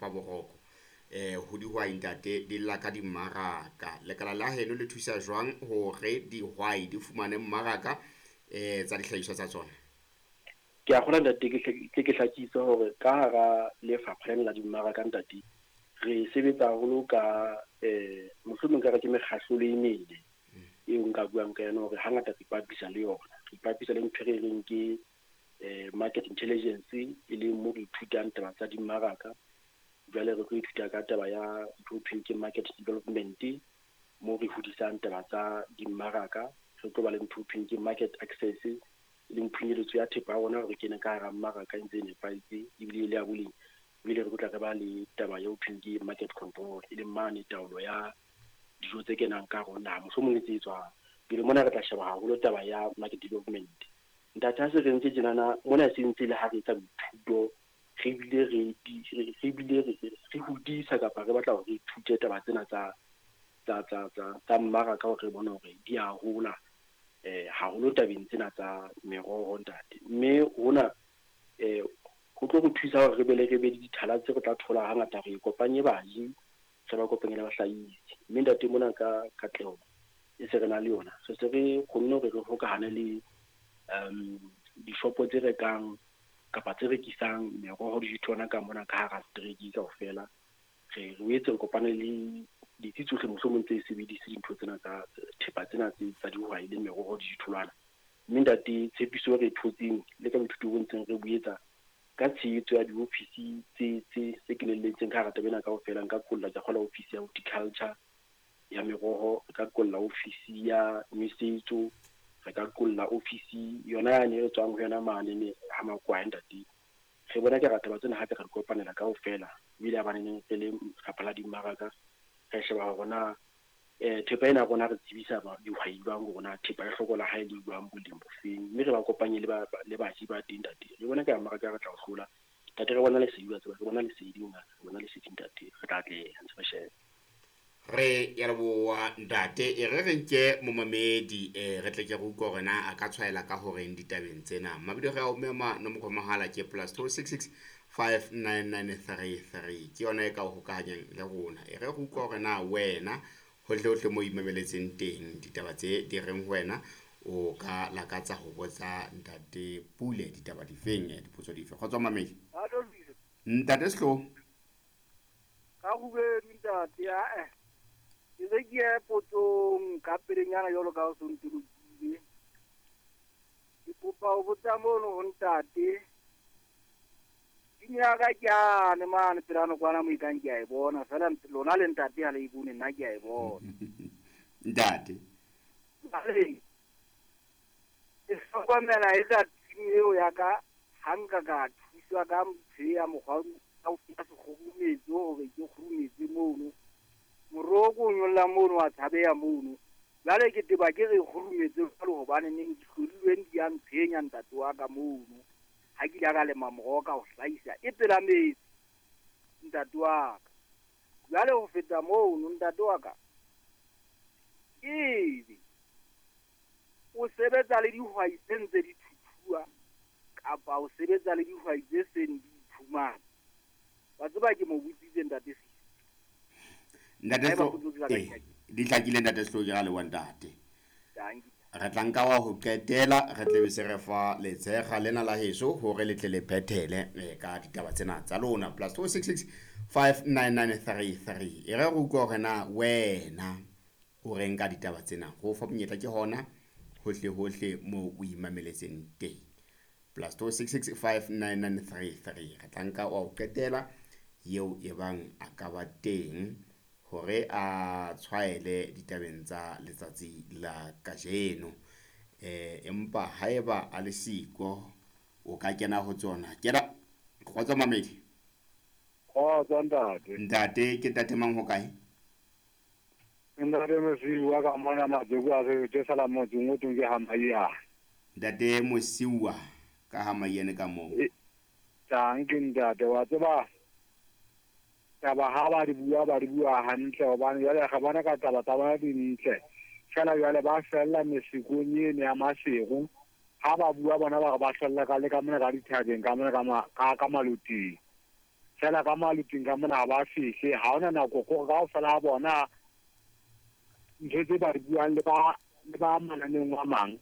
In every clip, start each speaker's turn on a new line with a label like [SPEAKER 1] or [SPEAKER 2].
[SPEAKER 1] hlopa boroko. Ho dihwai ntate di lla ka dimmaraka. Lekala la heno le thusa jwang hore dihwai di fumane mmaraka tsa dihlahiswa tsa tsona?
[SPEAKER 2] Ke a kgolwa ntate, ke hlakise hore ka hara lefapha lena la dimmaraka ntate, re sebetsa haholo ka mohlomong ka re ke mekgahlelo e mene eo nka buang ka yona hore hangata re ipapisa le yona. Re ipapisa le ntho e re reng ke market intelligence, e leng mo re ithutang taba tsa dimmaraka. Jwale re tlo ithuta ka taba ya ntho ho thweng ke market development, mo re hodisang taba tsa dimmaraka. Re tlo ba le ntho ho thweng ke market access, e leng phunyeletso ya thepa ya rona hore kene ka hara mmaraka e ntse e nepahetse ebile e le ya boleng. Ebile re tlo tla re ba le taba ya ho thweng ke market control, e leng mane taolo ya dijo tse kenang ka hare ho naha, mohlomong le tse tswang. Pele mona re tla sheba haholo taba ya market development. Ntate, ha se re ntse tjenana mona, se ntse le ha re etsa boithuto, re bile re hodisa kapa re batla hore re ithute taba tsena tsa mmaraka hore re bone hore di a hola haholo tabeng tsena tsa meroho ntate. Mme hona ho tlo re thusa hore re be le dithala tse re tla thola hangata, re kopanye baji, re ba kopanye le bahlahisi. Mme ntate mona ka katleho e se re na le yona, re se re kgonne hore re hokahane le dishopo tse rekang kapa tse rekisang meroho le ditholwana ka mona ka hara setereke kaofela. Re boetse re kopane le ditsi tsohle mohlomong tse sebedise dintho tsena tsa thepa tsena tse tsa dihwai le meroho le ditholwana. Mme ntate, tshepiso e re e thotseng le ka boithuto bo ntseng re bo etsa ka tshehetso ya diofisi tse kenelletseng ka hara taba ena kaofela, nka qolla ke kgola ofisi ya horticulture ya meroho, re ka qolla ofisi ya nwesetso, re ka qolla ofisi yona yane e re tswang ho yona mane ne ha Makwae ntate. Re bona ke ra taba tsena hape ra di kopanela kaofela. Ebile ha baneng re le lefapha la dimmaraka, re sheba hore na thepa ena rona re tsebisa dihwai jwang hore na thepa e hlokola ha e le jwang, boleng bofeng, mme re ba kopanye le baji ba teng ntate. Re bona ka mmaraka re tla o hlola ntate, re bona lesedi, wa tseba, re bona lesedi ngaka, re bona lesedi ntate, re tla atleha ntse re sheba.
[SPEAKER 1] Re ya leboha ntate. E re re nke momamedi, re tle ke re utlwe hore na a ka tshwaela ka horeng ditabeng tsena. Mabidi re a o mema, nomoro ya mohala ke +266 59933, ke yona e ka o hokahanyang le rona. E re re utlwe hore na wena hohle hohle mo imameletseng teng ditaba tse di reng ho wena, o ka lakatsa ho botsa ntate Pule ditaba difeng, dipotso dife. Kgotso mamedi. Ntate Sehloho.
[SPEAKER 3] Ka kgubedu ntate, ae. Ke se ke ye potsong ka pelenyana jwalo ka o so ntolokile. Ke kopa ho botsa mono ho ntate. Tshimo ya ka ke yane mane pela nokwana mo ekang ke a e bona, feela lona le ntate ha le e bone, nna ke a e bona.
[SPEAKER 1] Ntate.
[SPEAKER 3] Ke hlokomela e ka tshimo eo ya ka, ha nka ka thuswa ka ntho ya mokgwa wa sekgurumetso hore ke kgurumetse mono. Moroko o nyolla mono wa tshabeha mono. Jwale ke teba ke re kgurumetse jwalo hobane neng dihlodilweng di a ntshwenya ntate wa ka mono. Ha ke ile ka lema moroho ka ho hlahisa e pela metsi ntate wa ka. Jwale ho feta mono ntate wa ka, ebe o sebetsa le dihwai tse ntse di thuthuwa kapa o sebetsa le dihwai tse seng di iphumana? Wa tseba ke mo botsitse ntate Sisi.
[SPEAKER 1] Ntate Sehloho, di hlakile ntate Sehloho, ke ra leboha ntate. Re tla nka wa ho qetela, re tle be se re fa letshega lena la heso hore le tle le phethele ka ditaba tsena tsa lona. +266 59933. E re re utlwe hore na wena o reng ka ditaba tsena. Ho fa monyetla ke hona hohle hohle moo o imameletseng teng. +266 59933. Re tla nka wa ho qetela eo e bang a ka ba teng hore a tshwaele ditabeng tsa letsatsi la kajeno. Empa haeba a le siko o ka kena ho tsona. Kena kgotso mamedi.
[SPEAKER 4] Kgotso ntate.
[SPEAKER 1] Ntate ke ntate mang ho kae?
[SPEAKER 4] Ntate Mosiuwa ka mona Majoku a re ke sala motseng o teng ke ha Maiane.
[SPEAKER 1] Ntate Mosiuwa ka ha Maiane ka moo.
[SPEAKER 4] Tang ke ntate wa tseba. Taba ha ba di bua, ba di bua hantle hobane jwale re bona ka taba tsa bona di ntle. Feela jwale ba fella mesikong eno ya Maseru. Ha ba bua bona ba re ba fella ka le ka mona ka dithabeng, ka mona ka maloting. Fela ka maluting ka mona ba fihle ha ona nako go ga fela bona ntho tse ba di buang le ba mananeng wa mang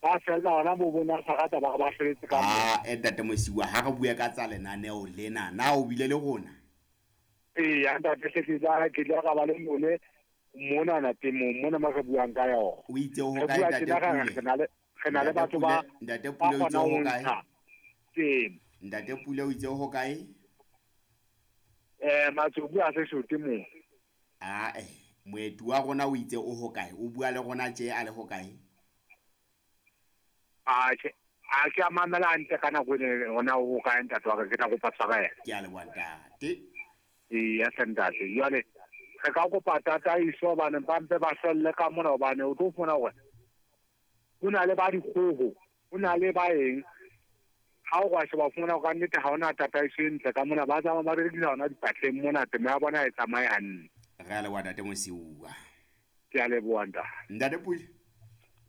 [SPEAKER 4] ba fela ona bo bona sarata ba ba hleletse ka
[SPEAKER 1] mo ntate Mosiwa ha re bua ka tsa lenaneo lena na o bile le rona
[SPEAKER 4] ee ntate ke tla ka ba le mone mona na temo mona ma re buang ka yona
[SPEAKER 1] o itse ho kae ntate Pule
[SPEAKER 4] re na le batho ba
[SPEAKER 1] ntate Pule o itse ho kae
[SPEAKER 4] temo
[SPEAKER 1] ntate Pule o itse ho kae
[SPEAKER 4] Matsobu a se shote mo
[SPEAKER 1] moeti wa rona o itse o ho kae o bua le rona tje a le ho kae
[SPEAKER 4] a ke a mamela ntle ka nako ene ona o kae ntate wa ke tla kopa tshwarelo
[SPEAKER 1] ke a leboha ntate
[SPEAKER 4] ee ya ntate jwale re ka kopa tataiso hobane ba mpe ba hlolle ka mona hobane o tlo fumana hore ho na le ba dikgoho ho na le ba eng ha o ka sheba fumana ka nnete ha ona tataiso e ntle ka mona ba tsamaya ba rekisa hona dipatleng mona temo ya bona e tsamaye hantle
[SPEAKER 1] re a leboha ntate Mosiwa
[SPEAKER 4] ke a leboha ntate
[SPEAKER 1] ntate Pule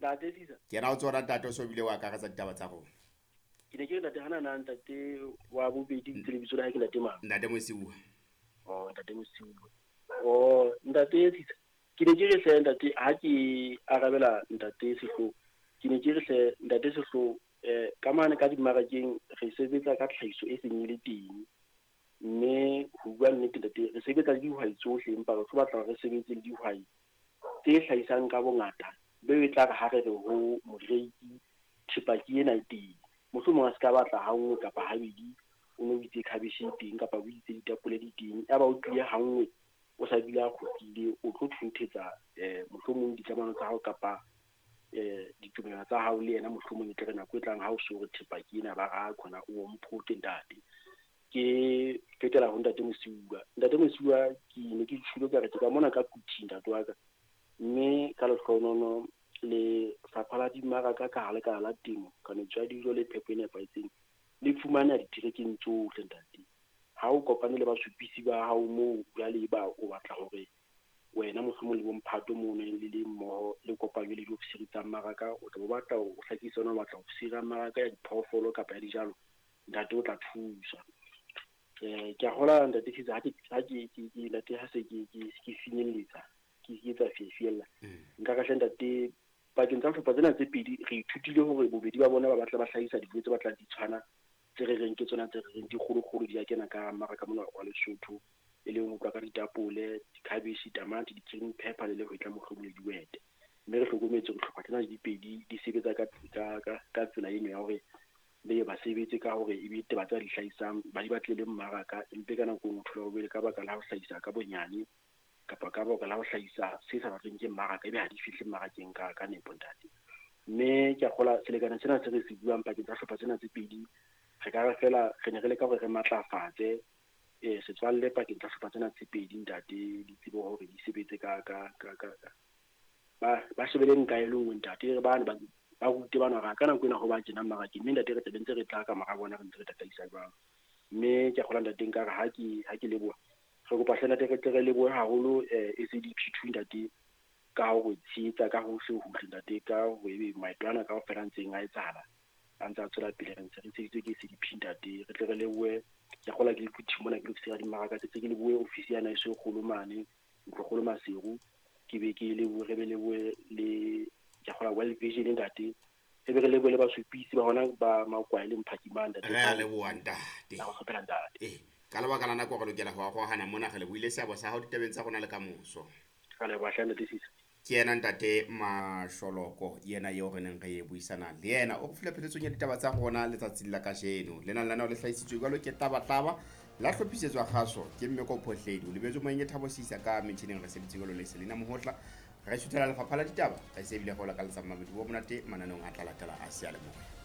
[SPEAKER 2] ntate Sisa
[SPEAKER 1] ke ra o tsora ntate o so bile wa akaretsa ditaba tsa rona
[SPEAKER 2] ke ne ke re ntate hana na ntate wa bobedi ke lebitso la hae ke ntate mang
[SPEAKER 1] ntate Mosiwa
[SPEAKER 2] oh ntate Mosiwa oh ntate Sisa ke ne ke re hle ntate ha ke arabela ntate Sehlo ke ne ke re hle ntate Sehlo ka mane ka dimmarakeng re sebetsa ka tlhahiso e seng e le teng mme ho bua nnete ntate re sebetsa le dihwai tsohle empa re tlo batla re sebetse le dihwai tse hlahisang ka bongata be e tla re ha re re ho moreki thepa ke ena e teng mohlomong a se ka batla ha nngwe kapa habedi o no itse khabeshe e teng kapa o itse ditapole di teng ya ba o tlile ha nngwe o sa bile a kgutlile o tlo thunthetsa mohlomong ditlamano tsa hao kapa ditumelo tsa hao le yena mohlomong e tle re nako e tlang ha o so re thepa ke ena ba ra khona o mphote ntate ke fetela ho ntate Mosiwa ntate Mosiwa ke ne ke tshilo ka re ke ka mona ka Kuthi ntate wa ka mme ka lehlohonono le fapha la dimmaraka ka ha lekala la temo kanetso ya dijo le phepo e nepahetseng le fumana diterekeng tsohle ntate ha o kopane le basupisi ba hao moo jwale ba o batla hore wena mohlomong le bomphato mono le le mmoho le kopanywe le diofisiri tsa mmaraka o tla bo batla o hlakisa ona o batla ofisiri ya mmaraka ya diphoofolo kapa ya dijalo ntate o tla thusa ke a hola ntate Sisa ha ke ntate ha se ke finyelletsa ke etsa fiela nka ka hle ntate pakeng tsa hlopha tsena tse pedi re ithutile hore bobedi ba bona ba batla ba hlahisa dijo tse batlang di tshwana tse re reng ke tsona tse re reng di kgolokgolo di a kena ka mmaraka mona wa Lesotho e leng ho tloha ka ditapole dikhabeshe tamati di-green pepper le lehwetla mohlomong le dihwete mme re hlokometse hore hlopha tsena di pedi di sebetsa ka tsela eno ya hore be ba sebetse ka hore e be taba tsa di hlahisang ba di batle le mmaraka empe ka nako nngwe thola hore ka baka la ho hlahisa ka bonyane kapa ka baka la ho hlahisa se sa batleng ke mmaraka ebe ha di fihle mmarakeng ka nepo ntate mme ke a kgola selekane sena se re se buang pakeng tsa hlopha tsena tse pedi re ka re fela re ne re leka hore re matlafatse setswalle pakeng tsa hlopha tsena tse pedi ntate di tsebe hore di sebetse ka ba shebele nka e le nngwe ntate re bane ba rute bana hore ka nako ena ho ba tjena mmarakeng mme ntate re tla be ntse re tla ka mora bona re ntse re tataisa jwang mme ke a kgola ntate nka re ha ke leboha re kopa hle ntate re tle re lebohe haholo SADP2 ntate ka ho re tshehetsa ka hohle hohle ntate ka ho ebe maeto ana kaofela ntseng a etsahala a ntse a tswela pele re ntse re tsheheditswe ke SADP ntate re tle re lebohe ke a kgola ke le Kuthi mona ke lokisera dimmaraka tse ke lebohe ofisi ya naeso e kgolo mane ntlokgolo Maseru ke be ke lebohe re be lebohe le ke a kgola World Vision ntate e be re lebohe le basupisi ba hona ba Makwae le Mphakimang ntate
[SPEAKER 1] re a leboha ntate
[SPEAKER 2] la go kgopela ntate
[SPEAKER 1] ka lebaka la nako re lokela ho arohana mona re lebohile seabo sa hao ditabeng tsa rona le kamoso
[SPEAKER 2] ka leboha hle ntate Sisa
[SPEAKER 1] ke yena ntate Masholoko yena eo re neng re buisana le yena o re file pheletsong ya ditaba tsa rona letsatsing la kajeno lena lenaneo le hlahisitswe jwalo ke Tabataba la hlophisetswa kgaso ke Mmeko Phohledi o lebetswe moyeng Thabo Sisa ka metjhineng re sebeditse jwalo le Selina Mohotla re suthela lefapha la ditaba re se ebile re o lakaletsa mamedi bo monate mananeong a tla latela a seyalemoya.